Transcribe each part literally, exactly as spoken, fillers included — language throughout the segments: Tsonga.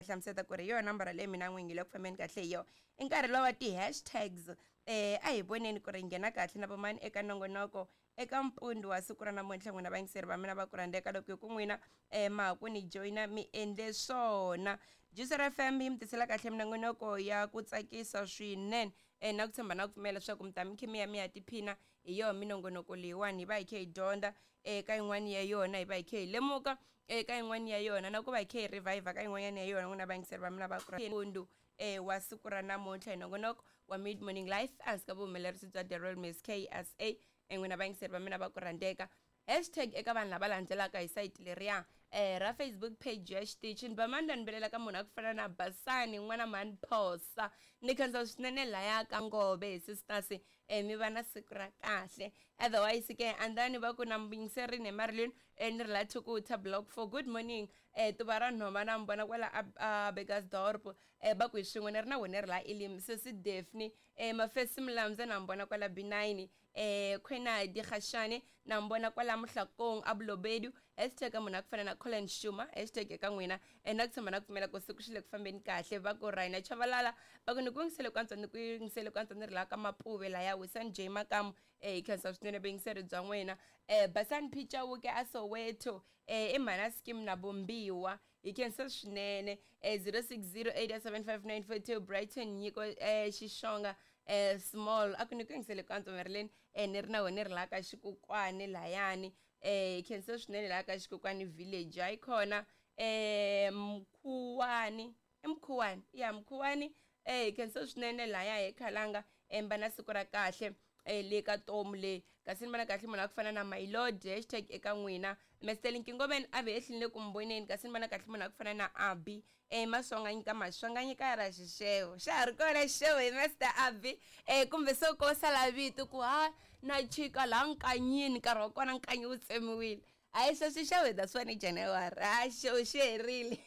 Hlamuseta ku ri hi yona nambara leyi mina n'wingi le ku fambeni kahle hi yona. I nkarhi lowa ti-hashtags. eh a hi voneni ku ri nghena kahle na vomani eka nongonoko eka mpundzu wa siku ra namuntlha. N'wina vayingiseri va mina va ku rhandzeka, loko hi ku n'wina um ma ha ku ni joyina, mi endle swona. Juicer F M yi mi tisela kahle minongonoko ya ku tsakisa swinene, um na ku tshemba na ku pfumela leswaku mi ta mi khe mi ya mi ya tiphina hi yona minongonoko leyiwani. Hi va hi khe hi dyondza eka yin'wani ya yona, hi va hi khe hi lemuka eka yin'wani ya yona, na ku va hi khe hi revive ka yin'wanyana ya yona. N'wina vayingiseri va mina va ku mpundzu eh wa siku ra namuntlha hi nongonoko wa Mid Morning Life ehansi ka vuhumelerisi bya The Royal Miss K S A. N'wina vayingiseri va mina va ku rhandzeka, hashtag eka vanhu lava landzelaka hi sayiti leriya eh ra Facebook page ya xitichi. Ni ba mani ni velela ka munhu a ku fana na Basani n'wana mhani Phosa, ni khensa swinene laya ka Ngove hi sisters, eh mi va na siku ra kahle. Otherwise ke andani va ku na yingiserini hi Marilyn, eh ni ri la Thukuta block four. Good morning, eh tuva ra nhova na mi vona kwala a, a Bekkersdorp, eh va ku hi swin'we ni ri na wena ri la Elim. Sesi Daphne, eh Mafesi Mlamza na mi vona kwala B nine, eh Khwenadi Khashane na mi vona kwala Muhlakong abulobedu. Hashtag munhu a ku fana na Colin Shuma, hashtag eka n'wina, eh na ku tshemba na ku pfumela ku siku xi le ku fambeni kahle. Va ku Raina Chavalala, va ku ni ku yingisele ku antswa, ni ku yingisele ku antswa, ni ri laha ka Mapuve laya Wisan J Makamu, eh hi khensa swinene vuyingiseri bya n'wina. eh Basani Phichauke a Soweto, eh i mhana scheme na Vumbiwa, hi khensa swinene. eh zero six zero eight seven five nine four two Brighton Nyiko, eh Xixonga, eh small a ku ni ku yingisele ku antswa Marilyn, eh ni ri na wena ni ri laha ka Xikukwani layani, eh hi khensa swinene laha ka Xikukwani village. Hayi khona, eh Mkhuwani, i Mkhuwani ya Mkhuwani, eh hi khensa swinene laya hi Khalanga, emba na siku ra kahle, eh le ka tomu le. Kasi ni vona kahle munhu a ku fana na My Lord, hashtag eka n'wina. Mr Nkingoveni a ve ehlini ku mboneni. Kasi ni vona kahle munhu a ku fana na Abi, eh Maswanganyi ka Maswanganyi ka ra xixevo xa ha ri kona xixevo hi Master Abi, eh kumbe se ko sala vito ku ha na chika laha nkanyini, nkarhi wa kona nkanyi wu tsemiwile. Hayi, sweswi xixevo hi ta swi vona hi January, ha xixevo xi herile.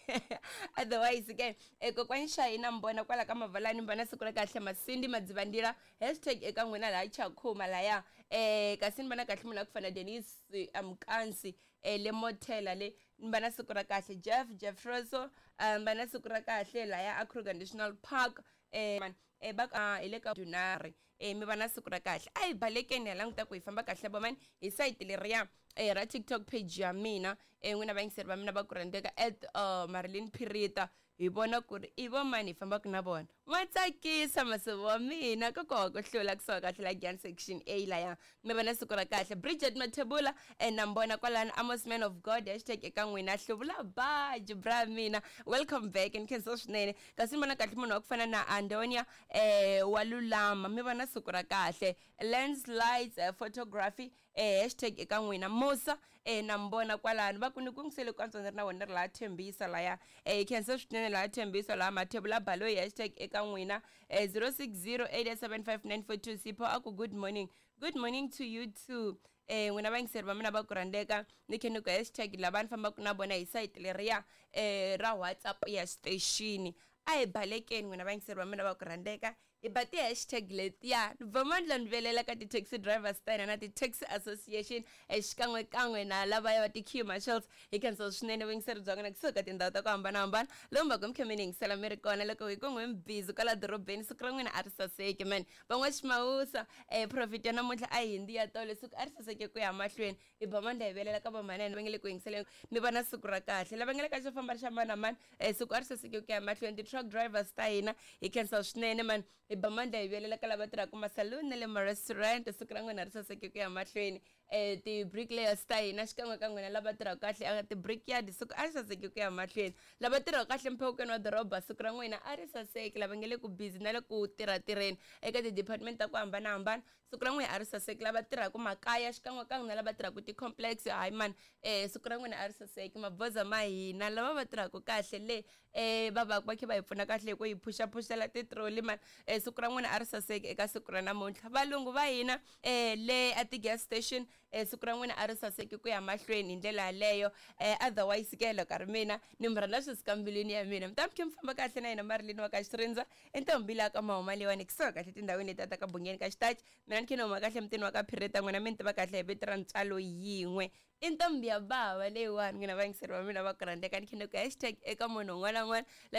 Otherwise ke, eh kokwani Xayina mi vona kwala ka Mavalani, mi vona siku ra kahle. Masindi Madzivandila, hashtag eka n'wina laha Chakhuma laya. eh kasi ni vona kahle munhu a ku fana Denis Amkansi, eh le Mothela le, ni va na siku ra kahle. Jeff Jeffroso, um va na siku ra kahle laya a Kruger National Park, eh man eh va hi le ka Dunari, eh mi va na siku ra kahle. A hi balekeni hi languta ku hi famba kahle vomani hi sayiti leriya eh ra TikTok page ya mina, eh n'wina vayingiseri va mina va ku rhandzeka, at uh, Marilyn Phirita, hi vona ku ri i vo mani hi fambaka na vona. N'wa tsakisa masivo wa mina kokowa ku hlula kusuka kahle la Gyan section A laya, mi va na siku ra kahle. Bridget Mathebula, eh na mi vona kwalano. Amos Man of God, hashtag eka n'wina. Hluvula baji bra mina, welcome back, ni khensa swinene. Kasi ni vona kahle munhu wa ku fana na Andonia, eh wa lulama, mi va na siku ra kahle. Lens Lights, uh, photography, eh hashtag eka n'wina. Musa, eh na mi vona kwalano, va ku ni ku ngisele ku antswa ni ri na wena ri laha Thembisa laya, eh khensa swinene laha Thembisa laha. Mathebula Baloyi, hashtag eka n'wina. eh zero six zero eight seven five nine four two Sipho a ku good morning, good morning to you too. eh n'wina vayingiseri va mina va ku rhandzeka, ni khe ni ku hashtag lava ni fambaka na vona hi sayiti leriya eh ra WhatsApp ya station. A hi balekeni n'wina vayingiseri va mina va ku rhandzeka, hi ba ti-hashtag letiya. Ni ba mandla ni velela ka ti-taxi drivers ta hina na ti-taxi association, xikan'wekan'we na lavaya va ti-queue marshals. Hi khensa swinene vuyingiseri bya n'wina kusuka tindhawu ta ku hambanahambana lomu va ku mi khe mi ni yingisela mi ri kona. Loko hi ku n'wi mi busy kwala dorobeni, siku ra n'wina a ri saseki man. Van'waximawusa, um profit ya namuntlha a hi hindi ya tolo, siku a ri saseke ku ya mahlweni. Hi ba mandla hi velela ka vamanene va nge le ku yingiseleni, mi va na siku ra kahle. Lava nga le ka xo famba xa mani na mani, um siku a ri saseke ku ya mahlweni. Ti-truck drivers ta hina, hi khensa swinene man. Hi ba mandla hi velela ka lava tirhaka masaluni na le ma-restaurant, siku ra n'wina ri saseke ku ya mahlweni. um ti-bricklayers ta hina xikan'we ka n'wina lava tirhaka kahle eka ti-brickyard, siku a ri saseke ku ya mahlweni. Lava tirhaka kahle mphewukweni wa doroba, siku ra n'wina a ri saseki. Lava nga le ku busy na le ku tirhatirheni eka ti-department ta ku hambanahambana, siku ra n'wina a ri saseki. Lava tirhaka makaya xikan'we ka n'wina lava tirhaka ti-complex, hayi mani, um siku ra n'wina a ri saseki. Maboza ma hina lava va tirhaka kahle le, um va va va kha va hi pfuna kahle hi ku hi phuxaphuxela ti-trolley mani, um siku ra n'wina a ri saseki eka siku ra namuntlha. Valungu va hina um le a ti-gas station, um siku ra n'wina a ri saseki ku ya mahlweni hi ndlela yaleyo. um otherwise ke, loko a ri mina ni mi rhandza swi suka mbilwini ya mina, mi ta mi khe mi famba kahle na yina Marilyn wa ka Xirindza, i ntombi laha ka mahuma leyiwani kusuka kahle tindhawini letiya ta ka Bungeni ka Xitachi. Mina ni khe ni huma kahle mutini wa ka Phireta, n'wina mi ni tiva kahle hi vito ra ntswalo yin'we, i ntombi ya bava leyiwani. N'wina vayingiseri va mina va ku rhandzeka, ni khe ni ku hashtag eka munhu un'wana na un'wana la nga